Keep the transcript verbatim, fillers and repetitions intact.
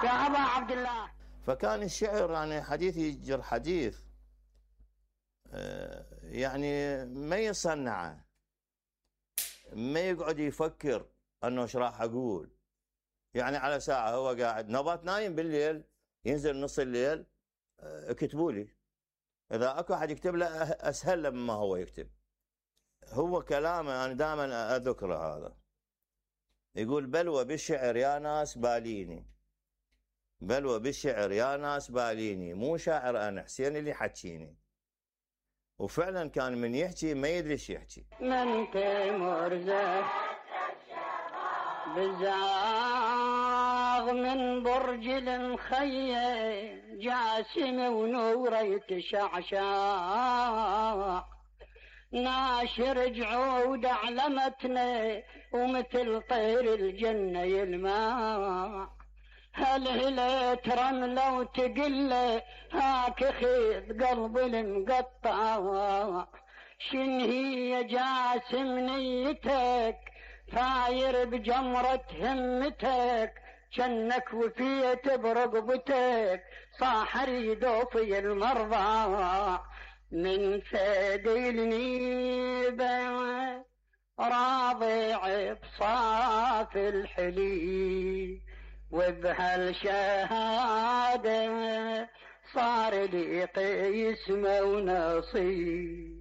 يا أبا عبد الله. فكان الشعر يعني حديث يجر حديث، يعني ما يصنعه، ما يقعد يفكر انه ايش راح اقول. يعني على ساعه هو قاعد نبات نايم بالليل، ينزل نص الليل اكتبوا لي، اذا اكو احد يكتب له اسهل له مما هو يكتب. هو كلامه انا دائما اذكره هذا، يقول بلوى بالشعر يا ناس باليني، بلوى بالشعر يا ناس باليني، مو شاعر انا حسين اللي حكيني. وفعلا كان من يحكي ما يدري ايش يحكي. من تيمور زه بزاغ من برج المخيم، جاسم ونوره يتشعشع، ناشر جعود علمتنا ومثل طير الجنة يلمع. هل هليت رملة وتقله هاك خيط قلب المقطع، شن هي جاسم نيتك فاير بجمرة همتك، جنك وفيت برقبتك صاح ريدو في المرضى. من ثقيل نيبه راضع بصاف الحلي، وبهالشهادة صار لي قسمة ونصيب.